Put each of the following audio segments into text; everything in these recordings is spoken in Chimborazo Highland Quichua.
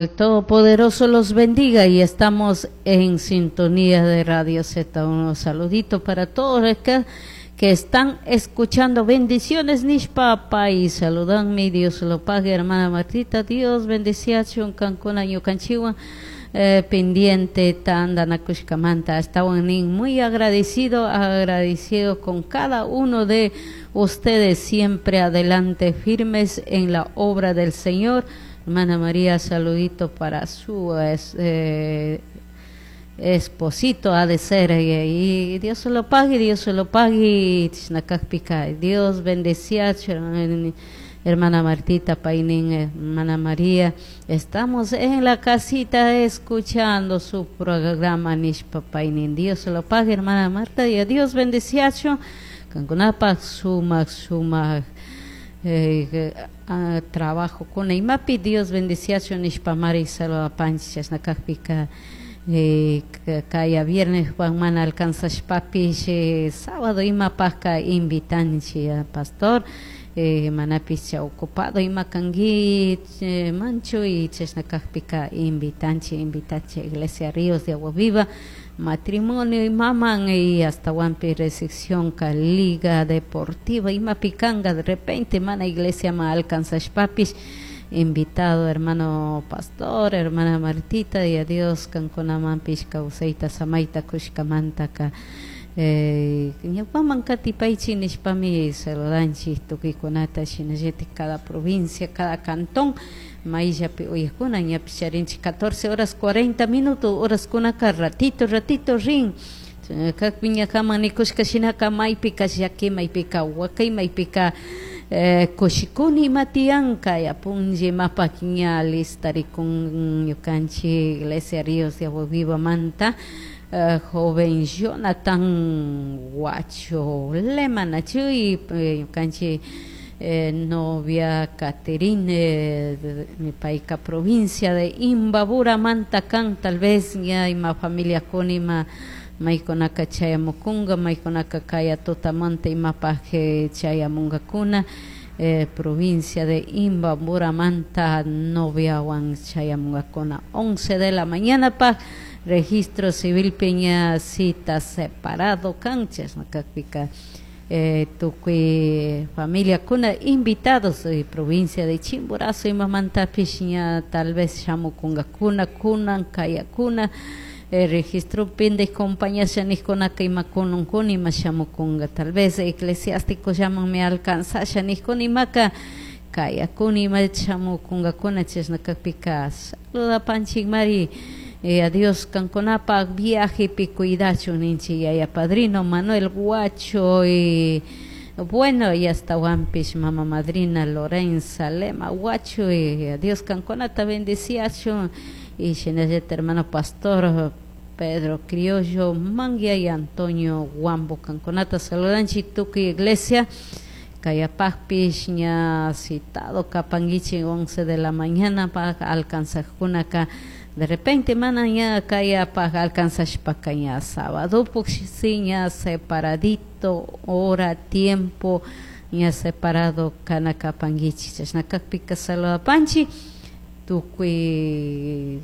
El Todopoderoso los bendiga y estamos en sintonía de Radio Z. Un saludito para todos los que están escuchando. Bendiciones, nishpa y saludanme. Dios lo pague, hermana Martita. Dios bendeciachun, kankuna ñukanchikwan pendiente tandanakushkamanta. Estaban muy agradecido, agradecido con cada uno de ustedes, siempre adelante, firmes en la obra del Señor. Hermana María, saludito para su esposito, ha de ser, y Dios se lo pague, Dios se lo pague, Dios bendecía, hermana Martita Painín, hermana María, estamos en la casita escuchando su programa nishpa Painín, Dios se lo pague, hermana Marta, y a Dios bendecía, kankunapaj sumak sumak trabajo kuna imapi Dios bendeciachun nishpamari saludapanchik chashna kakpika kaya viernes mana alcanzashpapish sábado imapajka invitanchik pastor manapish ocupado ima kanki manchu y chashna kakpika invitanchik invitanchik Iglesia Ríos de Agua Viva matrimonio imaman y hasta wampi recepción ka liga deportiva imapi kanga de repente mana iglesia ma alcanzashpapish invitado hermano pastor hermana Martita y a Dios kankunamanpish kawsayta samayta kushkamantaka ñawpaman katipaychik nishpami saludanchik tukuykunata shinallatik cada provincia cada cantón mayllapi uyakuna ñapish charinchik 14 horas 40 minutos horaskunaka ratito ratito rin kakpi ñakaman nikushka shinaka maypika llaki maypika wakay maypika kushikuni ima tiyan kay apunlla imapak ña listarikun ñukanchik Iglesia Ríos de Agua Viva manta joven Jonathan Huacho Lema nachu y ñukanchik novia Caterine mi payka provincia de Imbabura manta kan tal vez ña ima familia kuna ima maykunaka chayamukunka maykunaka kaya tutamanta imapaj chayamunkakuna provincia de Imbabura manta noviawan chayamunkakuna 11 de la mañana pa registro civil peña cita separado kan chashna kakpika tukuy familia kuna invitados provincia de Chimborazo imamantapish ña tal vez shamukunkakuna kunan kayakuna registro pinde compañía nijkunaka ima kununkuna ima shamukunka tal vez eclesiástico llamanmi alcanzasha nijkuna imaka kayakuna ima shamukunkakuna chashna kakpika saludapanchikmari a Dios kankunapaj viajepi cuidachun ninchik yaya padrino Manuel Huacho y bueno y hasta wampish mama madrina Lorenza Lema Huacho y a Dios kankunata bendeciachun y shinallata hermano pastor Pedro Criollo Manguia y Antonio Huambo kankunata saludanchik tukuy iglesia kayapajpish ña citado kapankichik 11 de la mañana pa alcanzajkunaka de repente mana ña kayapaj alcanzashpaka ña sábado sí ña separadito hora tiempo ña separado kana kapankichik chashna kakpika saludapanchik tukuy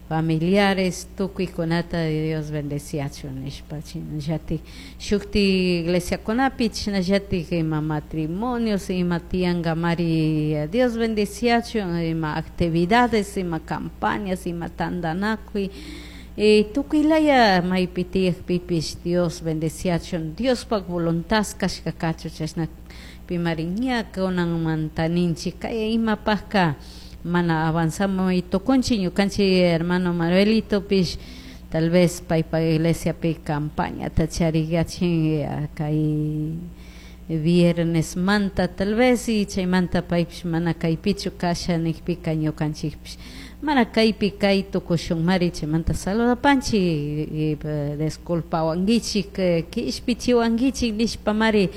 familiares tukuykunata Dios bendeciachun nishpa shinallatik shukti iglesiakunapi chashnallatik ima matrimonios ima tiyankamari Dios bendeciachun ima actividades ima campañas ima tandanakuy tukuylaya maypi tiyakpipish Dios bendeciachun Diospaj voluntad kashka kachun chashna pimari ña kunanmanta ninchik kay imapajka mana avanzamos y tukunchik ñukanchik hermano Manuelitopish tal vez paypa iglesiapi campañata chariyachin kay viernes manta tal vez y chaymanta paypish mana kaypichu kasha nikpika ñukanchikpish mana kaypi kay tukushunmari chaymanta saludapanchik disculpawankichik kishpichiwankichik nishpamari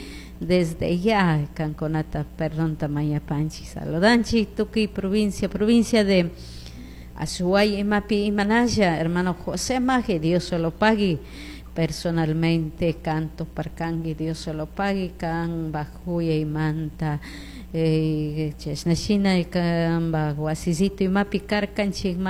desde ya kankunata perdonta mañapanchik saludanchik tukuy provincia provincia de Azuay imapi imanalla hermano José Maje Dios se lo pague personalmente canto parkanki Dios se lo pague kan bajuya imanta Chashna shina kanpak wasisito imapi karkanchik.